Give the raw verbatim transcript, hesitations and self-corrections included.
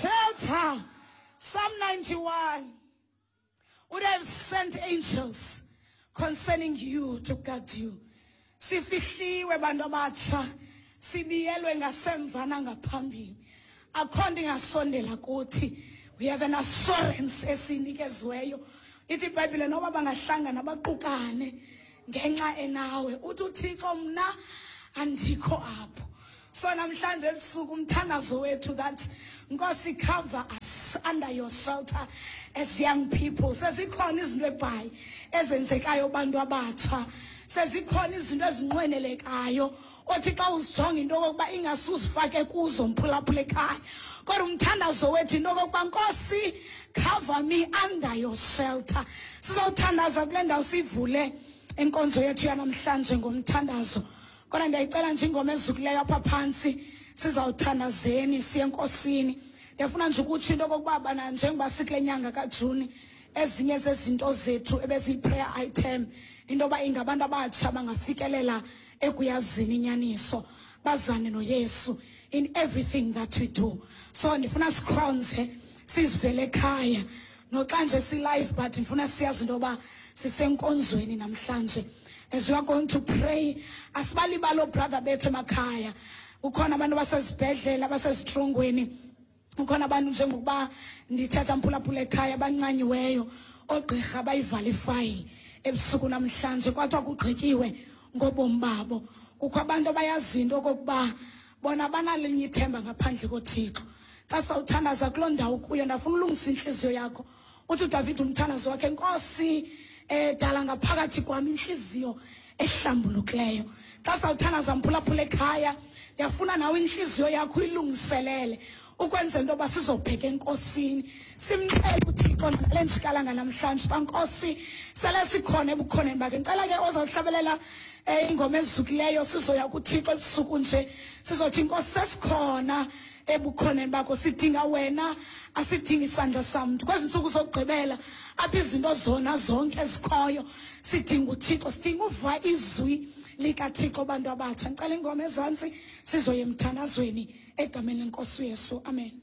Shelter. Psalm ninety-one would have sent angels concerning you to guard you. Sifihliwe, bantu abatsha, sibiyelwe ngasemva nangaphambili, akho nto ingasondela kuthi. We have an assurance esiyinikeziweyo. Ithi iBhayibhile, noba bangahlangana baqukane ngenxa enawe, uthi uThixo, "Mna andikho apho." So namhlanje ebusuku umthandazo wethu that, Nkosi, cover us under your shelter as young people. Sezikhona izinto ebhayi ezenzekayo, bantu abatsha. Sezikhona izinto ezinqwenelekayo othi xa uzijonga into okokuba ingasuzifake kuzo, mphulaphula ekhaya. Kodwa umthandazo wethu into okokuba, "Nkosi, cover me under your shelter." Sizawuthandaza kule ndawo, sivule inkonzo yethu yanamhlanje ngomthandazo. Kodwa ndiyayicela nje ingoma ezukileyo apha phantsi, sizawuthandazeni, siye eNkosini. Ndiyafuna nje ukutsho into okokuba bana njengoba sikule nyanga kaJuni, ezinye zezinto zethu ebeziyi-prayer item, into yoba ingabantu abatsha bangafikelela ekuyazini inyaniso, bazane noYesu in everything that we do. So ndifuna sikhonze sizivele ekhaya, noxa nje si-live, but ndifuna siyazi into yoba sisenkonzweni namhlanje. As we are going to pray, asibalibali obrother bethu emakhaya. Kukhona abantu abasezibhedlela, abasezitrongweni, kukhona abantu, njengokuba ndithetha, mphulaphula ekhaya, abancanyiweyo, oogqirha bayivala ifayili ebusuku namhlanje, kwathiwa kugqityiwe ngobomi babo. Kukho abantu abayaziyo into okokuba bona banalinye ithemba ngaphandle koThixo. Xa sawuthandaza kuloo ndawo kuyo, ndafuna ulungisa intliziyo yakho. Uthi uDavid umthandazo wakhe, "Nkosi, um dala ngaphakathi kwam intliziyo ehlambulukileyo." Xa sawuthandaza, mphulaphula ekhaya, ndiyafuna nawe intliziyo yakho uyilungiselele ukwenzela into yoba sizobheka eNkosini, simxele uThixo nale njikalanga namhlanje uba, Nkosi, sele sikhona ebukhoneni bakhe. Ndicela ke ozawuhlabelela um ingoma ezukileyo, sizoya kuThixo ebusuku nje, sizothi, "Nkosi, sesikhona ebukhoneni bakho, sidinga wena, asidingi isandla samntu." Kwezi ntsuku zokugqibela apho izinto zona zonke ezikhoyo, sidinga uThixo, sidinga uva izwi likaThixo, bantu abatsha. Ndicela ingoma ezantsi, sizoya emthandazweni egameni leNkosi uYesu. Amen.